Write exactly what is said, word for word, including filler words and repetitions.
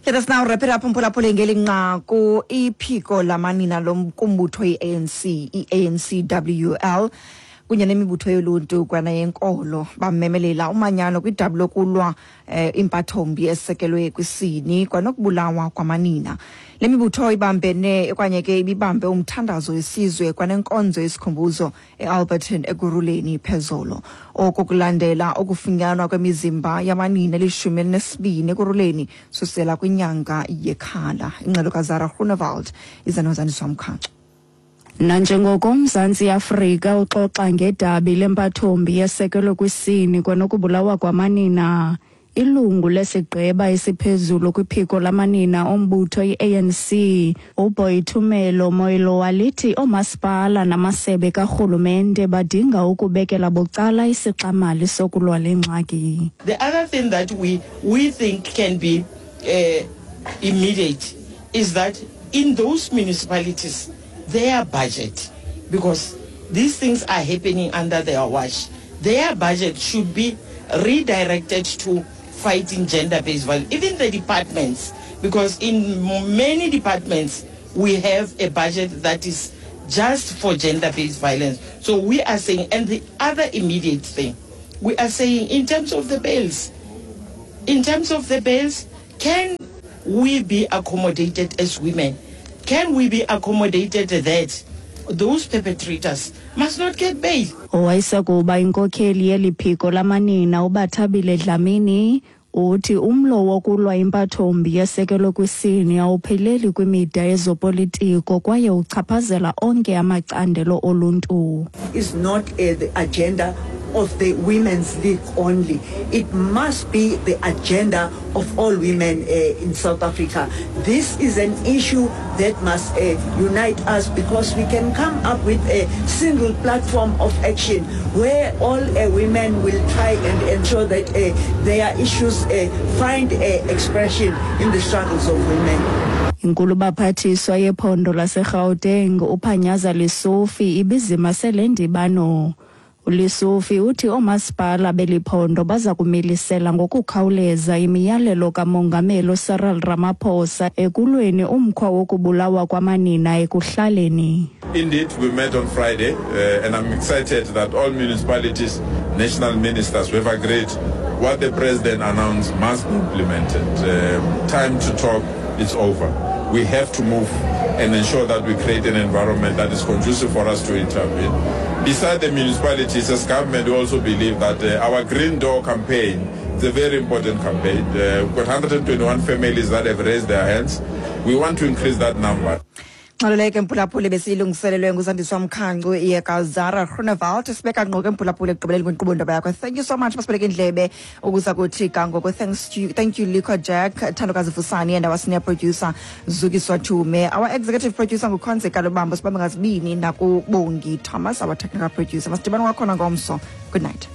Let us now wrap it up, mphulaphuli, ngeli nqaku. Iphiko lamanina lokumbutho i-A N C, i-A N C W L, kunye nemibutho yoluntu kwanayenkolo bamemelela umanyano kwidabi lokulwa eh, impathombi esekelwe kwisini kwanokubulawa kwamanina. Le mibutho ibambene okanye ke ibibambe umthandazo wesizwe kwanenkonzo yesikhumbuzo eAlberton, Ekurhuleni phezolo. Oko kulandela ukufunyanwa kwemizimba yamanina elishumi elinesibini Ekurhuleni susela kwinyanga yeKhala. Ingxelo kaZara Groenewald iza noZandiswa Mkhanco. Nanjengoko uMzantsi Afrika uxoxa ngedabi lempathombi yesekelwe kwisini kwanokubulawa kwamanina, ilungu lesigqeba esiphezulu kwiphiko lamanina ombutho i-A N C, uBoitumelo Moiloa, lithi oomasipala namasebe karhulumente badinga ukubekela bucala isixamali sokulwa le ngxaki. The other thing that we, we think can be uh, immediate is that in those municipalities, their budget, because these things are happening under their watch, their budget should be redirected to fighting gender-based violence. Even the departments, because in many departments, we have a budget that is just for gender-based violence. So we are saying, and the other immediate thing, we are saying in terms of the bails, in terms of the bails, can we be accommodated as women? Can we be accommodated that those perpetrators must not get bail? Owayesakuba inkokheli yeli phiko lamanina, uBathabile Dlamini, uthi umlo wokulwa impathombi yesekelwe kwisini awupheleli kwimida yezopolitiko kwaye uchaphazela onke amacandelo oluntu. Is not uh, the agenda of the Women's League only. It must be the agenda of all women uh, in South Africa. This is an issue that must uh, unite us because we can come up with a single platform of action where all uh, women will try and ensure that uh, their issues uh, find uh, expression in the struggles of women. Inkulubaphathiswa yephondo laseGauteng, uPanyaza Lesufi, ibizimase le ndibano. ULesufi uthi oomasipala beli phondo baza kumilisela ngokukhawuleza imiyalelo kaMongameli Cyril Ramaphosa ekulweni umkhwa wokubulawa kwamanina ekuhlaleni. Indeed, we met on Friday, uh, and I'm excited that all municipalities, national ministers, we have agreed what the president announced must be implemented. Um, time to talk is over. We have to move and ensure that we create an environment that is conducive for us to intervene. Beside the municipalities, as government, we also believe that uh, our Green Door campaign is a very important campaign. Uh, we've got one hundred twenty-one families that have raised their hands. We want to increase that number. Ngxelo mphulaphuli besiyilungiselelwe nguZandiswa Mkhancu yekaZara Groenewald. Sibeka ngqo ke, mphulaphuli, ekugqibeleni kwenkqubo Ndaba Yakho. Thank you so much basibeleke indlebe ukuza kuthi ga ngoku. Thanks to you, thank you Lico Jack, Thandokazi Fusani and our senior producer Zukiswa Tume. Our executive producer nguKhonze Kalubambo. Sibambe ngazibini nakuBongi Thomas, our technical producer. Masidibane kwakhona ngomso. Good night.